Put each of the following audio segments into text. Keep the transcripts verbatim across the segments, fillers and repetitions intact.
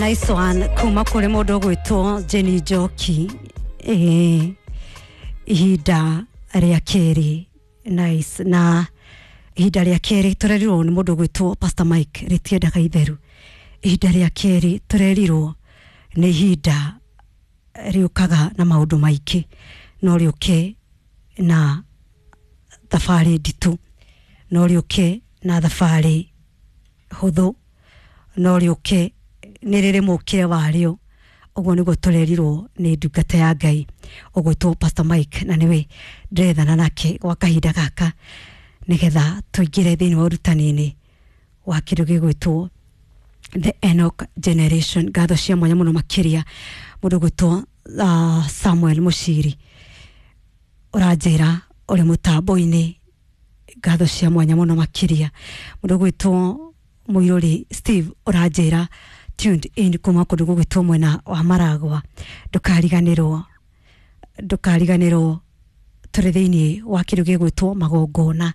Nice one kuma kuri mundu gwitwo Jenny Njoki. Eh, ihinda ria keri nice na ihinda ria keri turerirwo ni mundu gwitwo Pastor Mike ritiendaga itheru. Ihinda ria keri turerirwo ni ihinda riukaga na maundu maingi no riuke na thabari nditu, no riuke na thabari huthu, no riuke ni riri mukire wario. Uguo niguo turerirwo ni ndungata ya Ngai ugwitwo Pastor Mike, na niwe ndĩrethana nake gwa kahinda gaka nigetha tuingire thiini wa ũrutani-inĩ wa kĩndũ gĩgwĩtwo The Enoch Generation. Ngatho cia mwanya mũno makĩria mũndũ gwĩtwo uh, Samuel Mushiri ũranjĩra ũrĩ mũtambo-inĩ. Ngatho cia mwanya mũno makĩria mũndũ gwĩtwo Mũirũri Steve ũranjĩra tuned in kuma kũndũ gũgwĩtwo mwena wa Maragwa. Ndũkariganĩrwo ndũkariganĩrwo tũrĩ thĩinĩ wa kĩndũ gĩgwĩtwo magongona,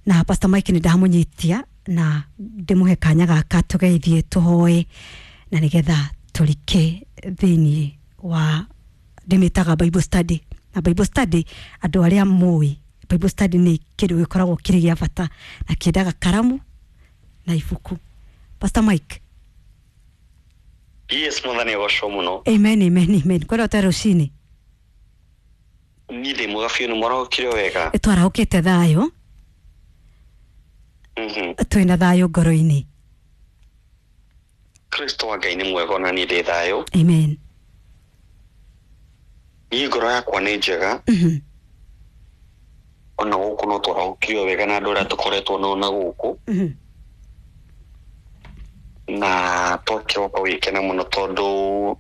na Pastor Mike nĩ ndamũnyitia na ndĩmũhe kanya gaka tũgeithie tũhoe na nĩgetha tũrike thĩinĩ wa ndĩmĩtaga Bible study. Na Bible study andũ arĩa mũĩ Bible study nĩ kĩndũ gĩkoragwo kĩrĩ gĩa bata na kĩendaga karamu na ibuku. Pastor Mike. Yes, mwathani agocwo muno. Amen, amen, amen. Kwenda ũte rũcinĩ? Niĩ ndĩ mwega biũ, nĩ mwarahũkire wega? Twarahũkĩte thayũ. Mhm. Twĩna thayũ ngoro-inĩ. Kristo wa Ngai nĩ mwega ona niĩ ndĩ thayũ. Amen. Niĩ ngoro yakwa nĩ njega. Mhm. Ona gũkũ no twarahũkire wega na andũ arĩa tũkoretwo nao na gũkũ. Mhm. Na twakĩroka gũgĩkena mũno tondũ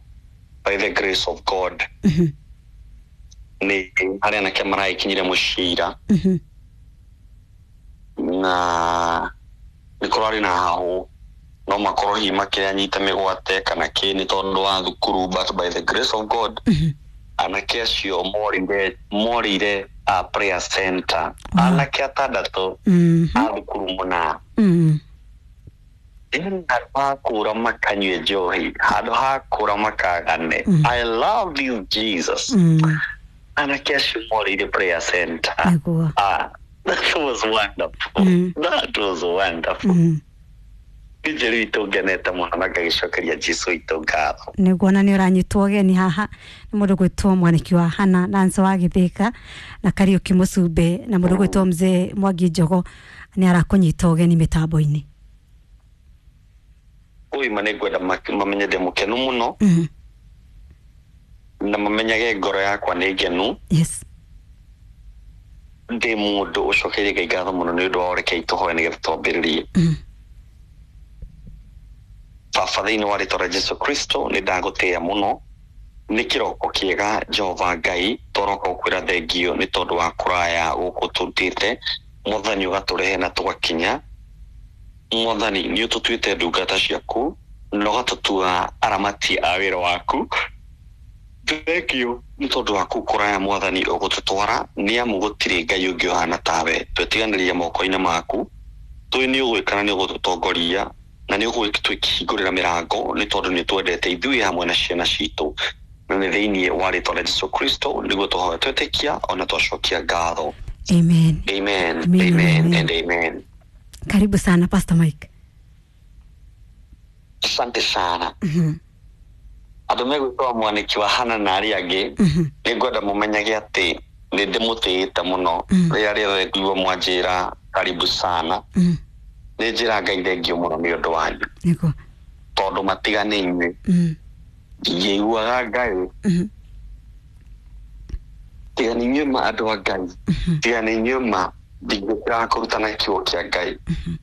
by the grace of God Mhm. nĩ harĩ anake maragĩkinyire mũciĩ ira. Mhm. Na nĩ kũrarĩ na hahũ no makorwo hihi makĩanyita mĩgwate kana kĩ nĩ tondũ wa thukuru, but by the grace of God Mhm. anake acio morire morire a prayer center. Wow. Anake atandatũ Mhm. a thukuru mũna. Mhm. Handũ ha kũra makanyue njohi, handũ ha kũra makagane. Mm. I love you Jesus. Mm. Anake acio morire prayer center. Nĩguo. Ah, that was wonderful. Mm. That was wonderful. Mm. Njeri itũ ngenete mũno na ngagĩcokeria Jesũ witũ ngatho. Nĩguo, na nĩ ũranyitwo ũgeni haha nĩ mũndũ gwĩtwo Mwaniki wa Hana Nancy wa Gĩthĩka na Kariũki Mũcumbe na mũndũ gwĩtwo Mzee Mwangi Njogo nĩ arakũnyita ũgeni mĩtambo-inĩ. Ũyũ nĩ ngwenda mamenye ndĩ mũkenu mũno. Mm. Na mamenyage ngoro yakwa nĩ ngenu. Yes. Ndĩ mũndũ ũcokeirie Ngai ngatho mũno nĩ ũndũ wa ũreke tũhoe nĩgetha twambĩrĩrie. Mm. Baba thĩinĩ wa rĩtwa rĩa Jesũ Kristo nĩ ndagũtĩĩa mũno nĩ kĩroko kĩega Jehova Ngai twaroka gũkwĩra thengio nĩ tondũ wa kũraya gũkũ tũrutĩte. Mwathani ũgatũrehe na tũgakinya. Mwathani nĩ ũtũtuĩte ndungata ciaku na ũgatũtua aramati a wĩra waku. Thengio nĩ tondũ waku kũraya Mwathani ũgũtũtwara nĩ amu gũtirĩ Ngai ũngĩ ũhana tawe. Twetiganĩria moko-inĩ maku tũĩ nĩ ũgwĩka na nĩ ũgũtũtongoria na nĩ ũgũtũhingũrĩra mĩrango nĩ tondũ nĩ twendete ithuĩ hamwe na ciana citũ. Na nĩ thĩinĩ wa rĩtwa rĩa Jesũ Kristo nĩguo tũhoya twetĩkia ona twacokia ngatho. Amen. Amen. Amen, Amen amen. and amen. Karibu sana Pastor Mike. Asante sana. Mhm. Andũ megwĩtwo Mwaniki wa Hana na arĩa angĩ Mhm. nĩ ngwenda mũmenyage atĩ nĩ ndĩmũtĩĩte mũno. Mm. Rĩrĩa rĩothe nguigua mwanjĩra karibu sana Mm. nĩ njĩra Ngai thengio mũno nĩ ũndũ wanyu. Nĩguo. Tondũ matiga nĩ inyuĩ. Mm. Ndingĩiguaga Ngai. Mhm. Tiga nĩ inyuĩ ma andũ a Ngai. Mhm. Tiga nĩ inyuĩ ma ndingĩkĩraga kũrutana kiugo kĩa Ngai. Mhm.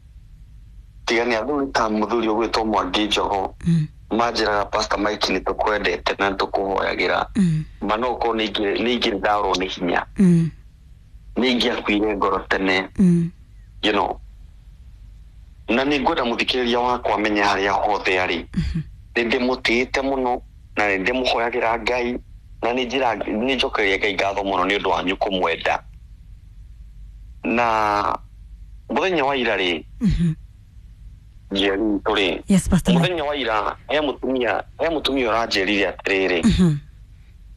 Tiga nĩ athuri ta mũthuri ũgwĩtwo Mwangi Njogo Mm. manjĩraga Pastor Mike nĩ tũkwendete na nĩ tũkũhoyagĩra. Mm. Ma no ũkorwo nĩ ingĩrĩ ndarwo nĩ hinya. Mm. Nĩ ingĩakuire ngoro tene. Mm. You know. Na nĩ ngwenda mũthikĩrĩria wakwa amenye harĩa hothe arĩ. Nĩ ndĩmũtĩĩte mũno na nĩ ndĩmũhoyagĩra Ngai na nĩ njĩra nĩ njokeria Ngai ngatho mũno nĩ ũndũ wanyu kũmwenda. Na mũthenya wa ira rĩ Mhm. Njeri tũrĩ Yes, Pastor Mike. Mũthenya wa ira he mũtumia he mũtumia ũranjĩrire atĩrĩrĩ Mhm.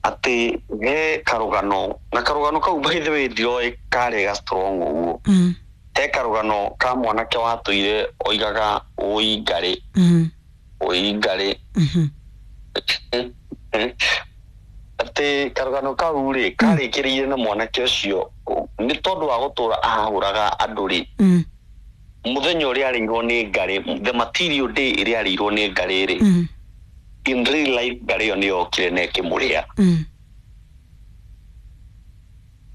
atĩ he karũgano na karũgano kau by the way ndioĩ karĩ ga strong ũguo. Mm. He karũgano ka mwanake watũire oigaga ũi ngarĩ Mm. ũi ngarĩ Mhm. atĩ karũgano kau rĩ karĩkĩrĩire na mwanake ũcio nĩ tondũ wa gũtũra ahahũraga andũ rĩ Mm. mũthenya ũrĩa arĩirwo nĩ ngarĩ, the material day ĩrĩa arĩirwo nĩ ngarĩ rĩ, Mm. in real life ngarĩ ĩyo nĩ yokire na ĩkĩmũrĩa. Mm.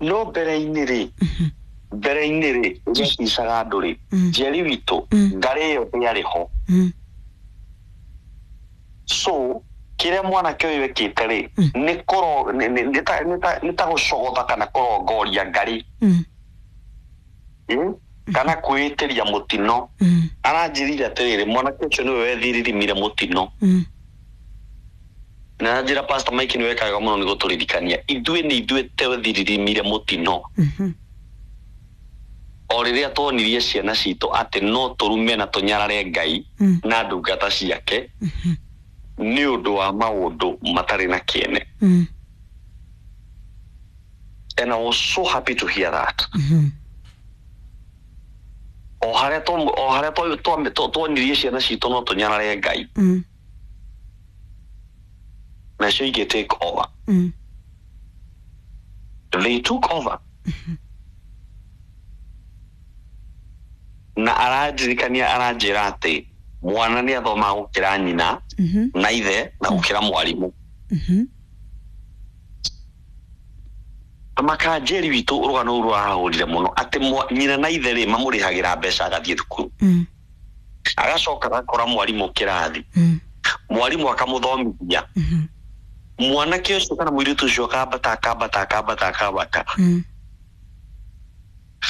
No mbere-inĩ rĩ, Mhm. mbere-inĩ rĩ ũrĩa aticaga andũ rĩ, Mm. Njeri witũ, Mm. ngarĩ ĩyo ndĩarĩ ho. Mm. So kĩrĩa mwanake ũyũ ekĩte rĩ Mm. nĩ kũro nĩ- nĩ- nĩ ta- nĩ ta- nĩ ta gũcogotha kana kũrongoria ngarĩ, Mm. Mm? kana kwĩĩtĩria mũtino. Mm. Aranjĩrire atĩrĩrĩ, mwanake ũcio nĩwe wethiririmire mũtino. Mm. Na njĩra Pastor Mike nĩ wekaga mũno nĩ gũtũririkania ithuĩ nĩ ithuĩ twethiririmire mũtino Mhm. o rĩrĩa tuonirie ciana citũ atĩ no tũrume na tũnyarare Ngai Mm. na ndungata ciake Mhm. nĩ ũndũ wa maũndũ matarĩ na kĩene. Mm. And I was so happy to hear that. Mhm. O harĩa twa- o harĩa twa- twa- twa- tuonirie ciana citũ no tũnyarare Ngai, Mm. nacio ingĩ take over. Mm. They took over. Na arandirikania aranjĩra atĩ mwana nĩ athomaga gũkĩra nyina Mhm. na ithe na gũkĩra mwarimũ. Mhm. Makanjeri witũ, rũgano rũu rũrahũrire mũno atĩ mwa- nyina na ithe rĩ mamũrĩhagĩra mbeca agathiĩ thukuru, Mm. agacoka agakora mwarimũ kĩrathi, Mm. mwarimũ akamũthomithia. Mhm. Mwanake ũcio kana mũirĩtu ũcio akambata akambata akambata akambata. Mm.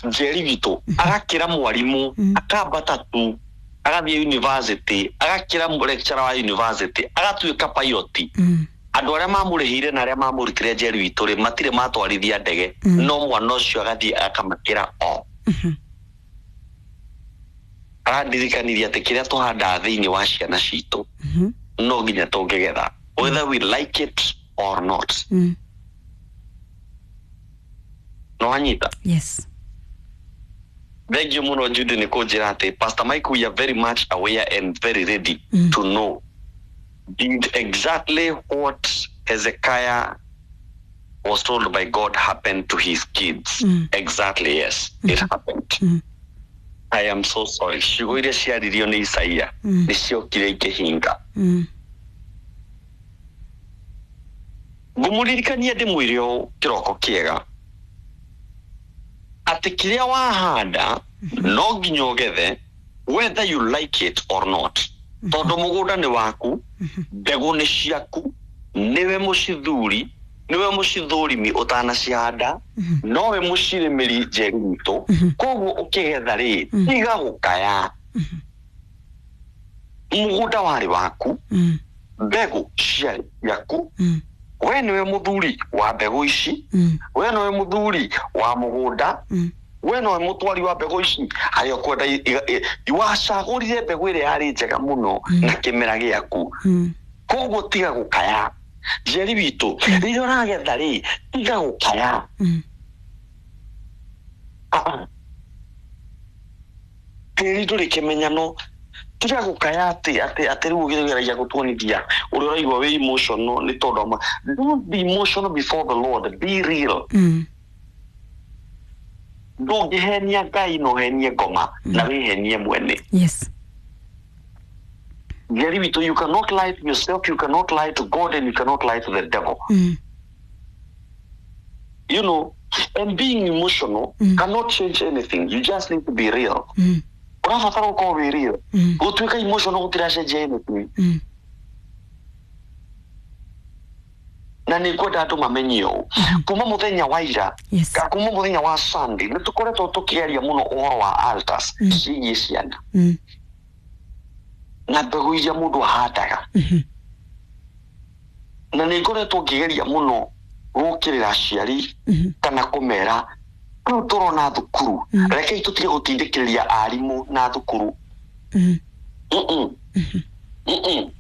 Njeri witũ, agakĩra mwarimũ, Mm. akambata tu agathiĩ university, agakĩra lecturer wa university, agatuĩka pilot. Mm. Andũ arĩa mamũrĩhĩire na arĩa mamũrutire, Njeri witũ rĩ, matirĩ matwarithia ndege. Mm. No mwana ũcio agathiĩ akamakĩra o. Mhm. Arandirikanirie atĩ kĩrĩa tũhandaga thĩinĩ wa ciana citũ Mhm. no nginya tũngĩgetha, whether we like it or not. Mm. No wanyita? Yes. Thank you mũno Judy nĩ kũnjĩra atĩ Pastor Mike, we are very much aware and very ready Mm. to know did exactly what Hezekiah was told by God happen to his kids. Mm. Exactly, yes, it happened. Mm. I am so sorry, ciugo iria ciaririo nĩ Isaia Mm. nĩ ciokire ikĩhinga. Mm. Ngũmũririkania ndĩmwĩre ũũ kĩroko kĩega atĩ kĩrĩa wahanda no nginya ũgethe, whether you like it or not, tondũ mũgũnda nĩ waku, mbegũ nĩ ciaku, nĩwe mũcithuri, nĩwe mũcithũrimi ũtanacihanda, nowe mũcirĩmĩri, Njeri witũ. Koguo ũkĩgetha rĩ, tiga gũkaya. Mũgũnda warĩ waku, Mm. mbegũ ciarĩ ciaku, Mm. we nĩwe mũthuri wa mbegũ ici, Mm. we nĩwe mũthuri wa mũgũnda, Mm. we nĩwe mũtwari wa mbegũ ici harĩa ũkwenda. i- i- i- wacagũrire mbegũ ĩrĩa yarĩ njega mũno na kĩmera gĩaku. Mm. Koguo tiga gũkaya, Njeri witũ. Rĩrĩa ũragetha rĩ, tiga gũkaya. Mm. Ah, ah. Tĩri ndũrĩ kĩmenyano. Tiga gũkaya atĩ atĩ atĩ rĩu ũgĩgeragia gũtuonithia ũrĩa ũraigua wĩ emotional nĩ tondũ wa ma- don't be emotional before the Lord, be real. Mm. Ndũngĩhenia Ngai na ũhenie ngoma na wĩhenie mwene. Yes. Njeri witũ, you cannot lie to yourself, you cannot lie to God and you cannot lie to the devil. Mm. you know and being emotional Mm. cannot change anything. You just need to be real. Mm. Ũrabatara gũkorwo wĩ real. Mm. Gũtuĩka emotional gũtiracenjia anything. Mm. Na nĩ ngwenda andũ mamenye ũũ, kuma mũthenya wa ira, Yes. ka kuma mũthenya wa Sunday, nĩ tũkoretwo tũkĩaria mũno ũhoro wa altars Mm. ciĩgiĩ ciana Mm. na mbegũ iria mũndũ ahandaga. Mhm. Na nĩ ngoretwo ngĩgeria mũno gũkĩrĩra aciari Mhm. kana kũmera rĩu tũrona thukuru, Mm. rekei tũtige gũtindĩkĩrĩria arimũ na thukuru. Mm. Mm-mm. Mm-mm.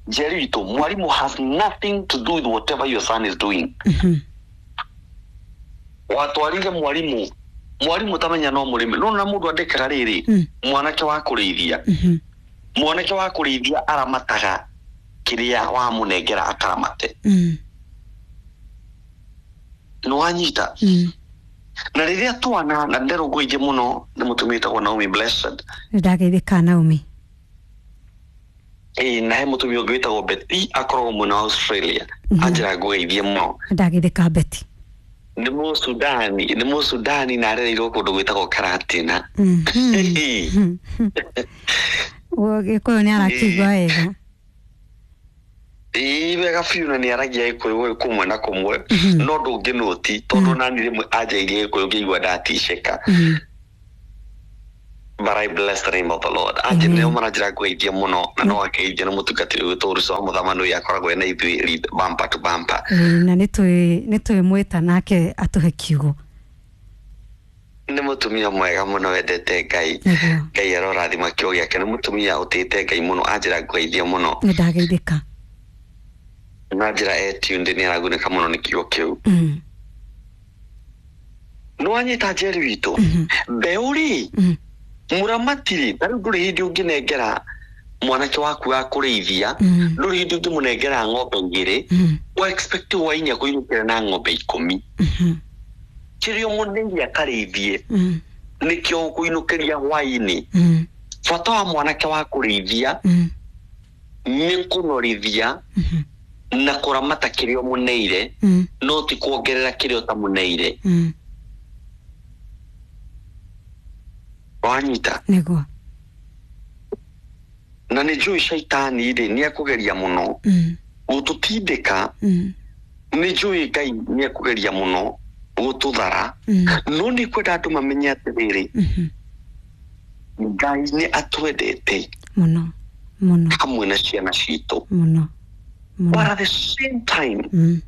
Njeri witũ, mwarimũ has nothing to do with whatever your son is doing. Mhm. Watwarire mwarimu, mwarimu tamenya no mũrĩmi no na mũndũ andĩkaga rĩrĩ, Mm. mwanake wa kũrĩithia, Mhm. mwanake wa kũrĩithia aramataga kĩrĩa wamũnengera akaramate. Mm. Nĩ wanyita? Mm. Na rĩrĩa twana na nderũngũirie mũno nĩ mũtumia wĩtagwo Naomi Blessed. Nĩ ndageithĩka Naomi. Ĩĩ, na he mũtumia ũngĩ wĩtagwo Betty, akoragwo mwena wa Australia. Mhm. Anjĩra ngũgeithie mũno. Nĩ ndageithĩka Betty. Nĩ Mũsudani, nĩ Mũsudani na arereirwo kũndũ gwĩtagwo Karatina. Mhm. Gĩkũyũ nĩ arakĩigua wega. Ĩĩ, wega biũ, na nĩ aragia Gĩkũyũ kũmwe na kũmwe, Mhm. no ndũngĩnũti tondũ nani rĩmwe anjairie Gĩkũyũ ngĩigua ndaticĩka. Mm. But I bless the name of the Lord. Anje nĩo maranjĩra ngũgeithie mũno, na no akeithia nĩ mũtungatĩri witũ Ruco wa Mũthamani ũyũ akoragwo ena ithuĩ lead bumper to bumper. Ĩĩ, na nĩ twĩ nĩ twĩmwĩta nake atũhe kiugo. Nĩ mũtumia mwega mũno wendete Ngai. Nĩguo. Ngai arorathima kĩo gĩake. Nĩ mũtumia ũtĩĩte Ngai mũno, anjĩra ngũgeithie mũno. Nĩ ndageithĩka. Na njĩra e tuned, nĩ aragunĩka mũno nĩ kiugo kĩu. Mm. Nĩ wanyita, Njeri witũ? Mhm. Mbeũ rĩ, Mm. mũramati rĩ, ta rĩu ndũrĩ hĩndĩ ũngĩnengera mwanake waku wa kũrĩithia, Mm. ndũrĩ hĩndĩ ũngĩmũnengera ng'ombe igĩrĩ, Mm. wa expect hwainĩ akũinũkĩra na ng'ombe ikũmi. Mhm. Kĩrĩa ũmũneire akarĩithie Mm. nĩkĩo ũkũinũkĩria hwainĩ. Mm. Bata wa mwanake wa kũrĩithia Mm. nĩ kũnorithia Mhm. na kũramata kĩrĩa ũmũneire, Mm. no ti kuongerera kĩrĩa ũtamũneire. Mm. Wanyita? Nĩguo. Na nĩ njũĩ caitani rĩ nĩ ekũgeria mũno Mm. gũtũtindĩka. Mm. Nĩ njũĩ Ngai nĩ ekũgeria mũno gũtũthara, Mm. no nĩ kwenda andũ mamenye atĩrĩrĩ, Mhm. Ngai nĩ atwendete Mũno mũno. hamwe na ciana citũ. Mũno But mũno. at the same time, Mm.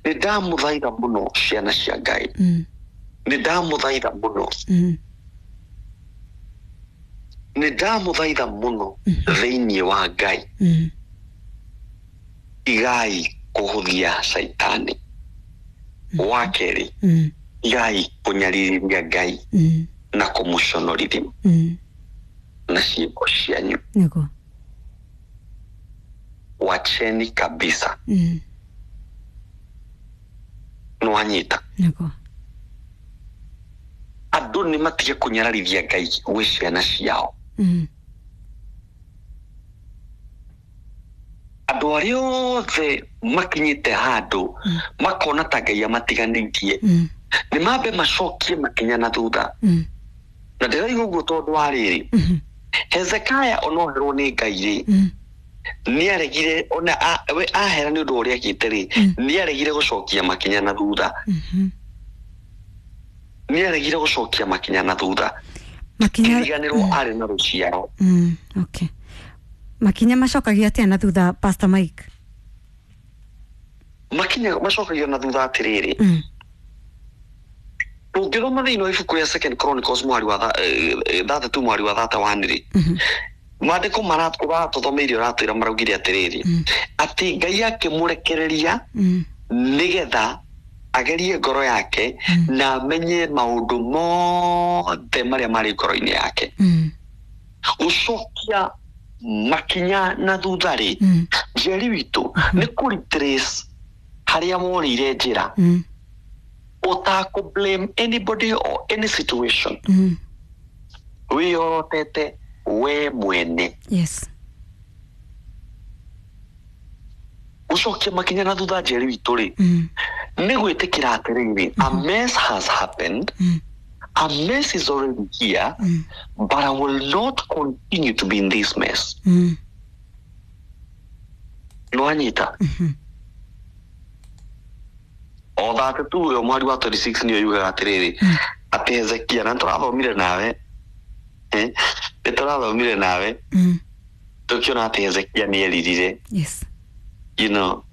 nĩ ndamũthaitha mũno, ciana cia Ngai, Mm. nĩ ndamũthaitha mũno, Mm. nĩ ndamũthaitha mũno thĩinĩ wa Ngai, Mm. igai kũhũthia caitani. Wa kerĩ, Mm. igai kũnyaririthia Ngai Mm. na kũmũconorithia Mm. na ciĩko cianyu. Nĩguo. Wacheni kabisa. Mm. Nĩwanyita? Nĩguo. Andũ nĩ matige kũnyararithia Ngai gwĩ ciana ciao. Mm. Andũ arĩa othe makinyĩte handũ makona ta Ngai amatiganĩirie, Mm. nĩ mambe macokie makinya na thutha. Mm. Na ndĩraiga ũguo tondũ wa rĩrĩ, Mhm. Hezekaya onoherwo nĩ Ngai rĩ, Mm. nĩ aregire ona a- we ahera nĩ ũndũ wa ũrĩa ekĩte rĩ, nĩ aregire gũcokia makinya na thutha. Mhm. Nĩ aregire gũcokia makinya na thutha. Makinya. Kĩriganĩrwo arĩ na rũciaro. Mm. Okay, makinya macokagia atĩa na thutha, Pastor Mike? Makinya macokagio na thutha atĩrĩrĩ, Mm. ũngĩthoma thĩinĩ wa ibuku rĩa Second Chronicles mwari wa tha- eh, eh, thathatũ mwari wa thata one rĩ, Mhm. maandĩko ũratũthomeire ũratwĩra maraugire atĩrĩrĩ, Mm. atĩ Ngai akĩmũrekereria Mm. nĩgetha agerie ngoro yake na amenye maũndũ mothe marĩa marĩ ngoro-inĩ yake. Mm. Gũcokia makinya na thutha rĩ, Mm. Njeri witũ, nĩ kũ retrace harĩa worĩire njĩra, Mm. ũtakũ blame anybody or any situation, Mm. wĩyorotete we mwene. Yes. Gũcokia makinya na thutha, Njeri witũ rĩ, Mm. nĩ gwĩtĩkĩra atĩrĩrĩ, a mess has happened, Mm. a mess is already here, Mm. but I will not continue to be in this mess. Mm. Nĩwanyita? Mhm. O thate tu ũyũ mwari wa mĩrongo ĩĩrĩ na ithathatũ nĩyo yugaga atĩrĩrĩ, atĩ Hezekia, na nĩtũrathomire nawe, eh, nĩtũrathomire nawe, Mm. tũkĩona atĩ Hezekia nĩ eririre. Yes. you know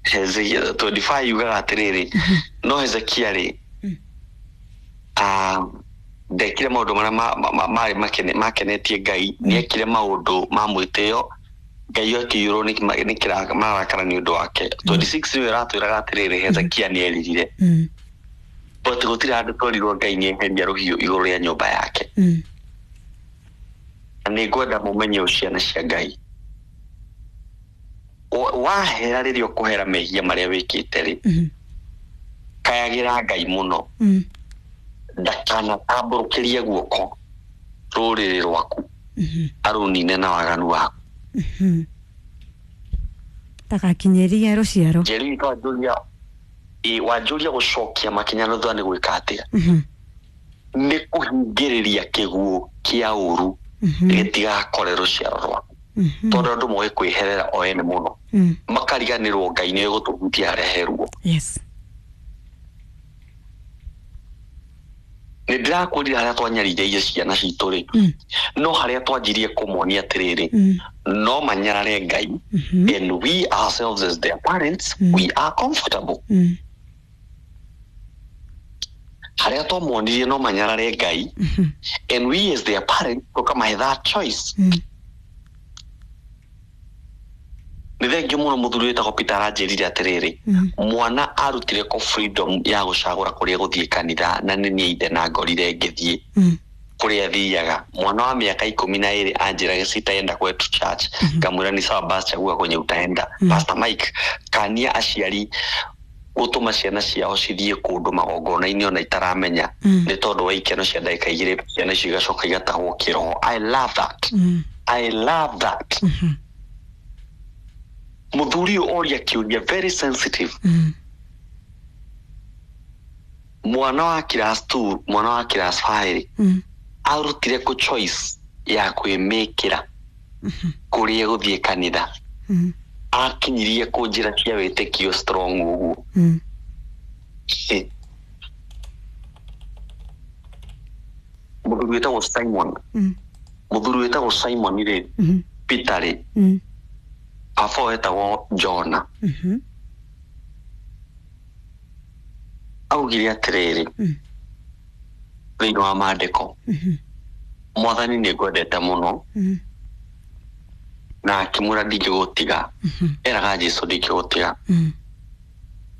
Hezekia mĩrongo ĩĩrĩ na ithano yugaga atĩrĩrĩ, no Hezekia rĩ, Mm. ah, Ndekire maũndũ marĩa marĩ makenetie Ngai, nĩekire maũndũ ma mwĩtĩo, Ngai akĩiyũrwo nĩ marakara nĩ ũndũ wake. twenty-six nĩwe ĩratwĩraga atĩrĩrĩ, Hezekia nĩeririre. But gũtirĩ handũ twerirwo Ngai nĩeheria rũhiũ igũrũ rĩa nyũmba yake. Na nĩngwenda mũmenye ũũ ciana cia Ngai, wahera rĩrĩa ũkũhera mehia marĩa wĩkĩte rĩ, kayagĩra Ngai mũno, ndakanatambũrũkĩrie guoko rũrĩrĩ rwaku arũnine na waganu waku. Ndagakinyĩrie rũciaro. Njeri wanjũria wanjũria gũcokia makinya na thutha nĩ gwĩka atĩa? Nĩ kũhingĩrĩria kĩguũ kĩa ũru gĩtigakore rũciaro rwaku, tondũ andũ moĩ kwĩherera o ene mũno, makariganĩrwo Ngai nĩ egũtũhutia harĩa he ruo. Yes. Nĩ ndĩrakwĩrire harĩa twanyaririe ciana citũ rĩ, no harĩa twanjirie kũmonia atĩrĩrĩ, no manyarare Ngai, and we ourselves as their parents, we are comfortable. Harĩa twamonirie no manyarare Ngai, and we as their parents tũkamahe that choice. Nĩ thengio mũno mũthuri wĩtagwo Peter aranjĩrire atĩrĩrĩ, mwana arutire ko freedom ya gũcagũra kũrĩa gũthiĩ kanitha, na nĩ niĩ ithe na ngorire ngĩthiĩ kũrĩa athiaga. Mwana wa mĩaka ikũmi na ĩrĩ anjĩraga sitaenda kwetu church, ngamwĩra ni sawa basi, chagua kwenye utaenda. Pastor Mike, kania aciari gũtũma ciana ciao cithiĩ kũndũ magongona-inĩ ona itaramenya, nĩ tondũ wa ikeno cia ndagĩka igĩrĩ, ciana icio igacoka igatahwo kĩroho. I love that. I love that. Mũthuri ũyũ oria kĩũria very sensitive. Mwana wa class two, mwana wa class five arutire kũ choice ya kwĩmĩkĩra kũrĩa gũthiĩ kanitha, akinyirie kũ njĩra cia wĩtĩkio strong ũguo. Mũthuri wĩtagwo Simon, mũthuri wĩtagwo Simon rĩ, Peter rĩ, baba wetagwo Jona, augire atĩrĩrĩ thĩinĩ wa maandĩko, Mwathani nĩ ngwendete mũno, na akĩmwĩra ndingĩgũtiga, eraga Jesũ ndingĩgũtiga.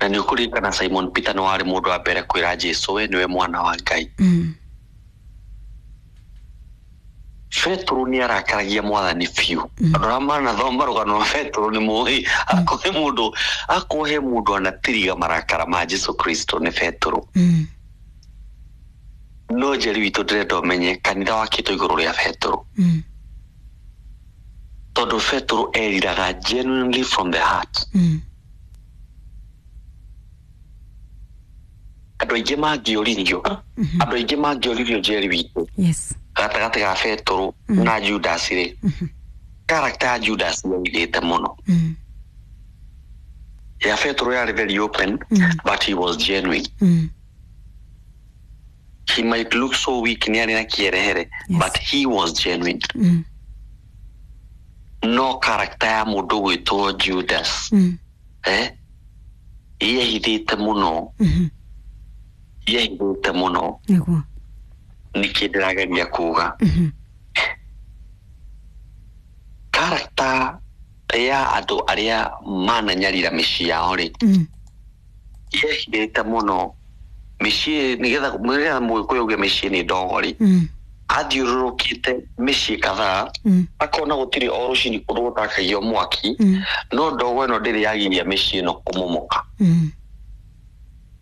Na nĩ ũkũririkana Simon Peter nĩ warĩ mũndũ wa mbere kwĩra Jesũ we nĩwe mwana wa Ngai. Petro nĩ arakaragia Mwathani biũ. Andũ arĩa manathoma rũgano rwa Petro nĩ moĩ akohe mũndũ akohe mũndũ anatiriga marakara ma Jesũ Kristo nĩ Petro. No Njeri witũ ndĩrenda ũmenye kanitha wakĩtwo igũrũ rĩa Petro, tondũ Petro eriraga genuinely from the heart. Andũ aingĩ mangĩũririo, andũ aingĩ mangĩũririo Njeri witũ, Yes. gatagatĩ ga Petro na Judas rĩ, character ya Judas yairĩte mũno. Ya Petro yarĩ very open, but he was genuine. He might look so weak nĩ arĩ na kĩerehere, Yes. but he was genuine. No character ya mũndũ gwĩtwo Judas, eh, yehithĩte mũno, yehithĩte mũno. Nĩguo. Nĩkĩ ndĩrageria kuga, character ya andũ arĩa mananyarira mĩciĩ yao rĩ, yehithĩte mũno mĩciĩ, nĩgetha nĩgetha mũgĩkũyũ auge mĩciĩ nĩ ndogo rĩ, athiũrũrũkĩte mĩciĩ kadhaa, akona gũtirĩ o rũcinĩ kũndũ gũtakagio mwaki, no ndogo ĩno ndĩrĩ yagiria mĩciĩ ĩno kũmomoka.